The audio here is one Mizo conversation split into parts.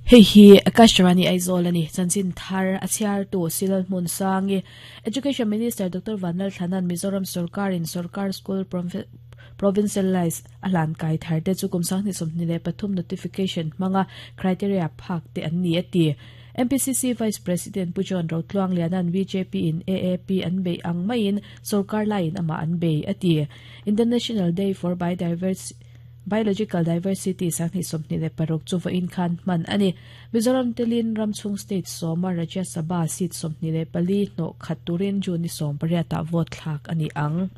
Hei hi Akashvani Aizawl a ni. Chanchin thar a chhiartu Silal Hmunsangi, Education Minister Doctor Vanlalthlana'n Mizoram sorkarin Sorkar School Provincialised a hlan kai thar te chu kum 2023 notification hmanga criteria phak te an ni a ti. MPCC Vice President Pu John Rotluangliana'n bjp in AAP an beih ang maiin sorkar laiin amah an bei a ti. International Day for Biodiversity Biological Diversity 2026 chu vawiin khan hman a ni. Mizoram telin ramchhung state sawma Rajya Sabha seat 24 hnawh khat turin June ni 18 ah vote thlak a ni ang.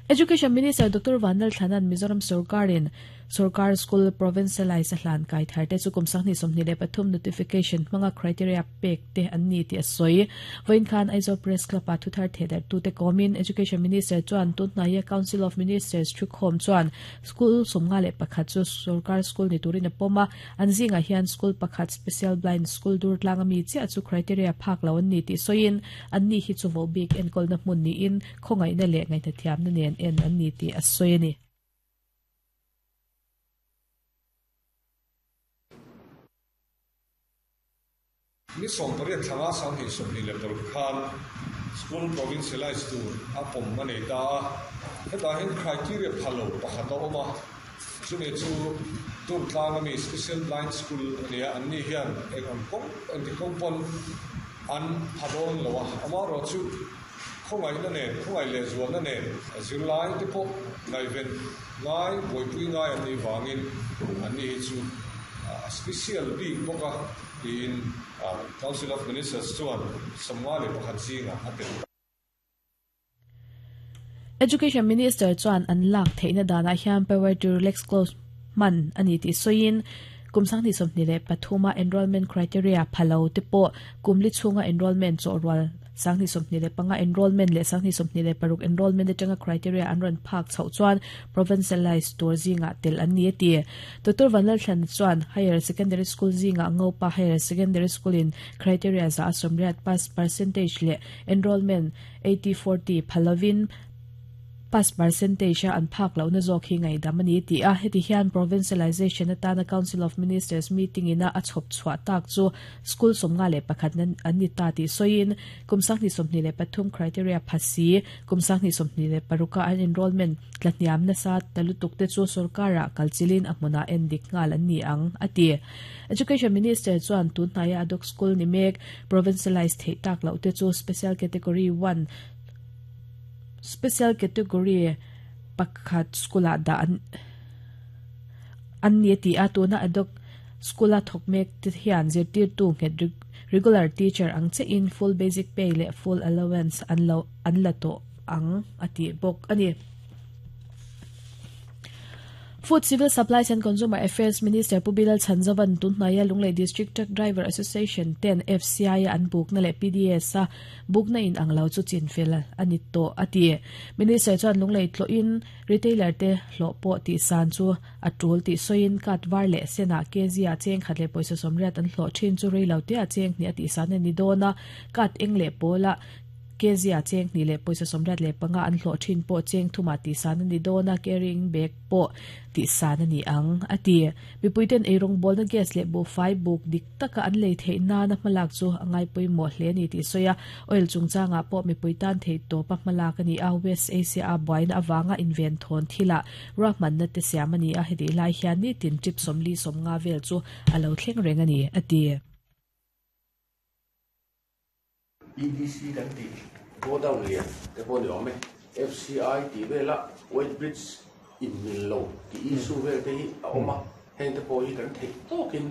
Education Minister Doctor Vanlalthlana'n Mizoram sorkarin Sorkar School Provincialised a hlan kai thar te chu kum 2023 notification hmanga criteria pek te an ni tih a sawi. Vawiin khan Aizawl Press Club-ah thuthar thehdarhtute kawmin Education Minister chuan tunhnaia Council of Ministers thukhawm chuan school 51 chu sorkar school ni turin a pawm a, an zingah hian school pakhat Special Blind School Durtlang ami chiah chu criteria phak lo an ni tih sawiin anni hi chu vohbik enkawlna hmun niin khawngaihna leh ngaihnathiamna nen en an ni tih a sawi a ni. Ni 18 thlanga 2026 khan School Provincialised tur a pawm a nei ta a, hetah hian criteria pha lo pakhat a awm a, chumi chu Durtlang ami Special Blind School a ni a, anni hian eng ang kawng engti kawng pawn an pha dawn lo a, amaherawhchu khawngaihna nen, khawngaih lehzualna nen zirlai te pawh ngaihven ngai, buaipui ngai an nih vangin anni hi chu a special bik bawk a tiin Council of Ministers chuan 51 zingah a tel ta. Education Minister chuan an lak theihna danah hian power to relax clause hman a ni tih sawiin kum 2023 a enrolment criteria pha lo te pawh kum li chhunga enrolment chawhrual 2025 enrolment leh 2026 enrolment atanga criteria an rawn phak chhoh chuan provincialised tur zingah tel an ni a ti. Doctor Vanlalthlana chuan Higher Secondary School zingah Ngopa Higher Secondary School in criteria za a sawmriat pass percentage leh enrolment 80-40 pha lovin pass percentage a an phak lohna zawk hi ngaihdam a ni tih a, heti hian provincialisation atana Council of Ministers meeting ina a chhawp chhuah tak chu School 51 nan an ni ta tih sawiin kum 2023 criteria pha si kum 2026 a an enrolment tlahniam nasa ta lutuk te chu sorkarah kalchilin a hmunah en dik nghal an ni ang, a ti. Education Minister chuan tunhnaia ad hoc school ni mek provincialised theih tak loh te chu special category one special category pakhat school-ah dah an an ni a ti a, tuna ad hoc School-a thawk mek te hian zirtirtu nghet regular teacher ang chiahin full basic pay leh full allowance an lo an la tawh ang a tih bawk a ni. Food, Civil Supplies and Consumer Affairs Minister Pu Bilal Chhanzovan tunhnaia Lunglei District Truck Driver Association ten FCI-a an bukna leh PDS-a bukna in ang lo chu chinfel a ni tawh a ti. Minister chuan Lunglei tlawhin Retailer te hlawh pawh tihsan chu a tul tih sawiin cut var leh senah kg ah cheng khat leh pawisa 80 an hlawh thin chu rei lo te ah cheng hnih a tihsan a ni dawn a, cut eng leh pawlah kg ah cheng hnih leh pawisa 85 an hlawh thin pawh cheng thumah tihsan a ni dawn a, carrying bag pawh tihsan a ni ang, a ti. Mipuiten eirawngbawlna gas leh buhfai buk dik taka an lei theih nana hmalak chu a ngai pawimawh hle a ni tih sawi a, oil chungchangah pawh mipui tan theih tawpa hmalak a ni a, West Asia-a buaina avanga inven thawn thilah ruahmanna te siam a ni a, hetih lai hian nitin trip 40 50 vel chu a lo thleng reng a ni, a ti. EDC kan tih godown lian te pawh ni awm e, FCI tih vela weight bridge in mil lo tih issue vel te hi a awm a, heng te pawh hi kan theih tawkin.